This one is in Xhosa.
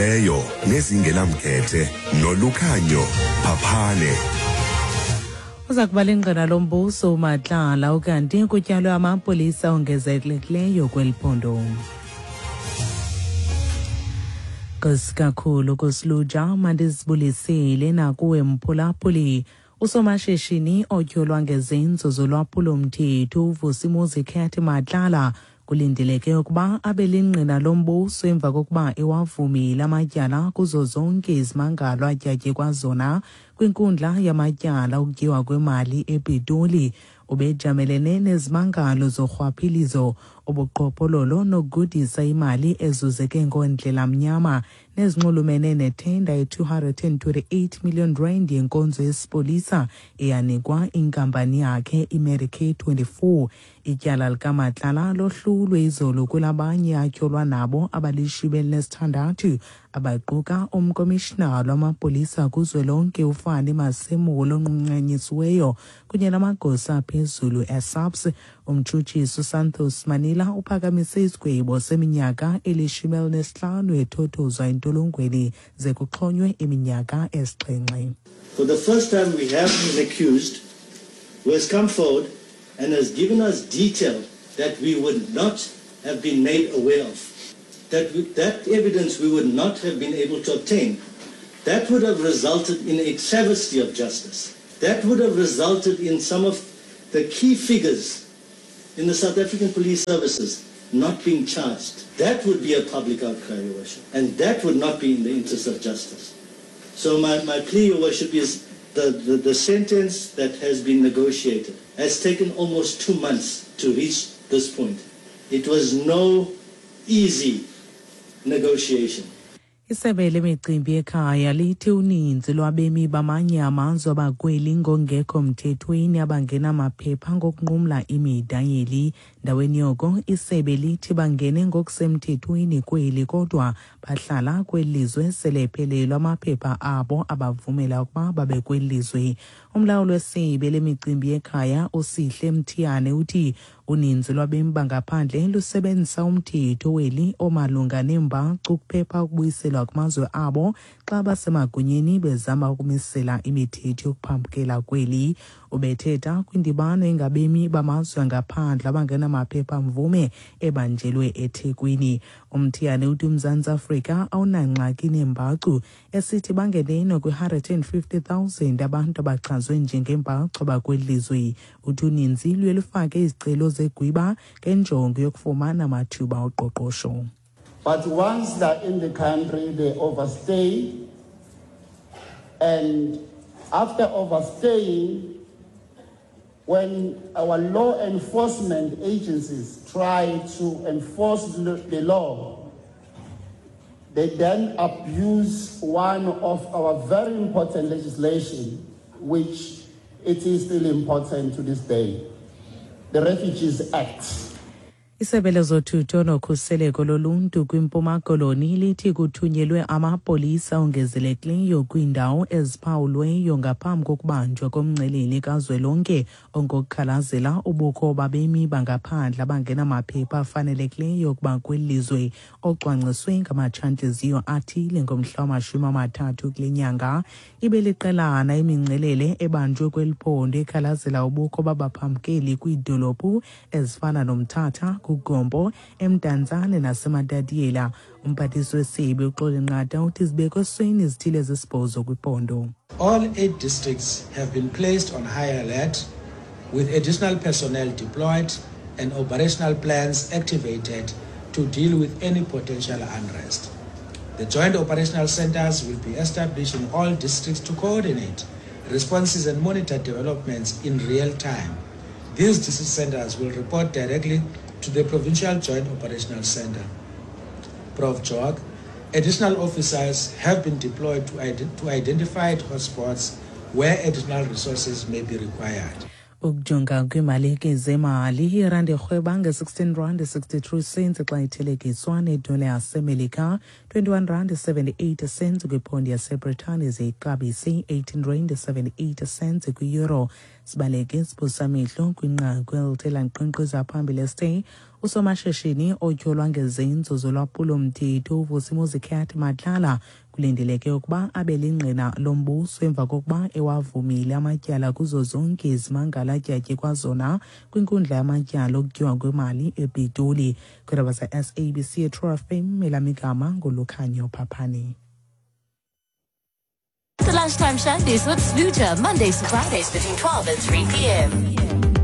Ezinyanisekileyo nezingenamkhethe nolukhanyo phaphane. Uza kuba lingqina lombuso uMatlala ukanti kutyalwe amapolisa ongezelekileyo kweli phondo. Nkosi kakhulu kusiluja mandizibulisele nakuwe mphulaphuli. Usomashishini otyholwa ngezenzo zolwaphulo-mthetho uVusimuzi Cat Matlala kulindeleke ukuba abe lingqina lombuso emva kokuba ewavumile amatyala kuzo zonke izimangalo atyatyekwa zona kwinkundla yamatyala okutyiwa kwemali ePitoli. Ubejamelene nezimangalo zorhwaphilizo, ubuqhophololo nokugudisa imali ezuzeke ngoondlela mnyama nezinxulumene nethenda ye-228 million rand yenkonzo yesipolisa eyanikwa inkampani yakhe iMedicare 24. Ityala likaMatlala lohlulwe izolo kwelabanye atyholwa nabo abalishumi elinesithandathu abaquka umkomishinala wamapolisa kuzwelonke uFani Masemola onqunyanyisiweyo kunye namagosa aphezulu eSAPS. Umtshutshisi uSantos Manila uphakamise isigwebo seminyaka elishumi elinesihlanu ethothozwa entolongweni ze kuxhonywe iminyaka esixhenxe. For the first time we have an accused who has come forward and has given us detail that we would not have been made aware of. That, we, that evidence we would not have been able to obtain. That would have resulted in a travesty of justice. That would have resulted in some of the key figures in the South African Police Services not being charged. That would be a public outcry, Your Worship. And that would not be in the interest of justice. So my, my plea, Your Worship, is the, the, the sentence that has been negotiated has taken almost two months to reach this point. It was no easy negotiation. Isebe lemicimbi yekhaya lithi uninzi lwabemi bamanye amazwe abakweli ngongekho mthethweni abangenamaphepha ngokunqumla imida yeli. Ndaweni yoko isebe lithi bangene ngokusemthethweni kweli kodwa bahlala kweli lizwe sele ephelelwa amaphepha abo abavumela ukuba babe kweli lizwe. Umlawuli wesebe lemicimbi yekhaya uSihle Mthiyane uthi uninzi lwabemi bangaphandle lusebenzisa umthetho weli omalunga neembacu ukuphepha ukubuyiselwa kumazwe abo xa basemagunyeni bezama ukumisela imithetho yokuphambukela kweli. Ubethetha kwindibano engabemi bamazwe angaphandle abangenamaphepha mvume ebanjelwe eThekwini. UMthiyane uthi uMzantsi Afrika awunangxaki neembacu esithi bangeneno kwi-150,000 abantu abachazwe njengeembacu abakweli lizwe. Uthi uninzi luye lufake izicelo zegwiba ngenjongo yokufumana amathuba oqoqosho. But once they're in the country, they overstay. And after overstaying, when our law enforcement agencies try to enforce the law, they then abuse one of our very important legislation, which it is still important to this day, the Refugees Act. Isebe lezothutho nokhuseleko loluntu kwiMpuma Koloni lithi kuthunyelwe amapolisa ongezelekileyo kwiindawo eziphawulweyo ngaphambi kokubanjwa komngcelele kazwelonke ongokukhalazela ubukho babemi bangaphandle abangenamaphepha afanelekileyo ukuba kweli lizwe ocwangciswe ngamatshantliziyo athile ngomhla wamashumi amathathu kule nyanga. Ibe liqelana imingcelele ebanjwe kweli phondo ekhalazela ubukho babaphambukeli kwiidolophu ezifana noMthatha, kuGompo, eMdantsane naseMatatiela. Umphathiswa wesebe uXoli Nqata uthi zibekwe esweni izithili ezisibhozo kwiphondo. All eight districts have been placed on high alert with additional personnel deployed and operational plans activated to deal with any potential unrest. The joint operational centers will be established in all districts to coordinate responses and monitor developments in real time. These district centers will report directly to the Provincial Joint Operational Center. Prof. Jog, additional officers have been deployed to, ident to identified hotspots where additional resources may be required. Ukujonga kwiimalike zemali, irandi irhweba nge-16 rand 63 cents xa ithelekiswa nedola yaseMelika, 21 rand 78 cents kwiphondi yaseBritane ze ixabise 18 rand 78 cents kwi-euro. Sibaleke siphosamehlo kwinqaku elithe lanqenqeza phambili esithe Usomashishini otyholwa ngezenzo zolwaphulo-mthetho uVusimuzi Cat Matlala kulindeleke ukuba abe lingqina lombuso emva kokuba ewavumile amatyala kuzo zonke izimangalo atyatye kwazona kwinkundla yamatyala okutyiwa kwemali ePitoli. Kwiindaba ze-SABC eTrue FM, elam igama nguLukhanyo Phaphane. The Lunchtime Shandies with Sluja, Mondays to Fridays between 12 and 3 p.m.